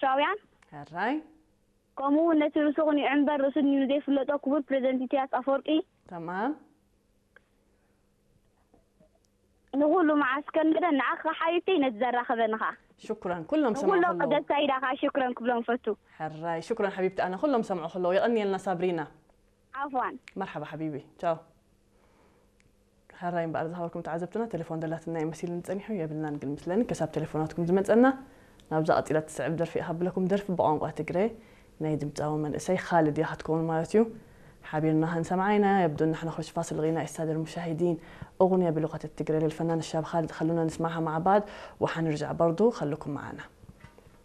ኤርትራውያን ሕራይ ከምኡ እውን ነቲ ርእሱ ቅኒዑ እምበር ርእሱ ንዘይፍለጦ ክቡር ፕሬዚደንት ኢሳያስ ኣፈወርቂ ተማም ንኹሉ መዓስ ከንበደ ንዓኻ ሓቢብተይ ነቲ ዘራኸበንኻ ሽኩራን ኩሎም ሰምዑ ንኹሎም ከለዉ ቀደስታ ኢዳኻ ሽክረን ክብሎም ፈቱ ሕራይ ሽኩራን ሓቢብቲ ኣነ ኩሎም ሰምዑ ከለዉ የቐንየልና ሳብሪና ዓፍዋን መርሓባ ሓቢቢ ቻው ሕራይ እምበኣር ዝሃበኩም ተዓዘብትና ቴሌፎን ደላትና እዩ መሲልኒ ጸኒሑ የብልናን ግን ምስለኒ ከሳብ ቴሌፎናትኩም ዝመጸና ናብዛ ቀጺላ ትስዕብ ደርፊ እየ ካብለኩም ደርፊ ብቋንቋ ትግረ ናይ ድምፃዊ መንእሰይ ካልድ እያ ክትከውን ማለት እዩ ሓቢርና ክንሰምዓ ኢና የብዶ ንሕና ክሮች ፋስል ጊና ኢስታደር ሙሻሂዲን እኹን የብሉ ከተት ትግረ ልልፈና ንሻብ ካልድ ከሉና ንስማዕሃ ማዕባድ ወሓንርጃዕ በርዱ ከልኩም መዓና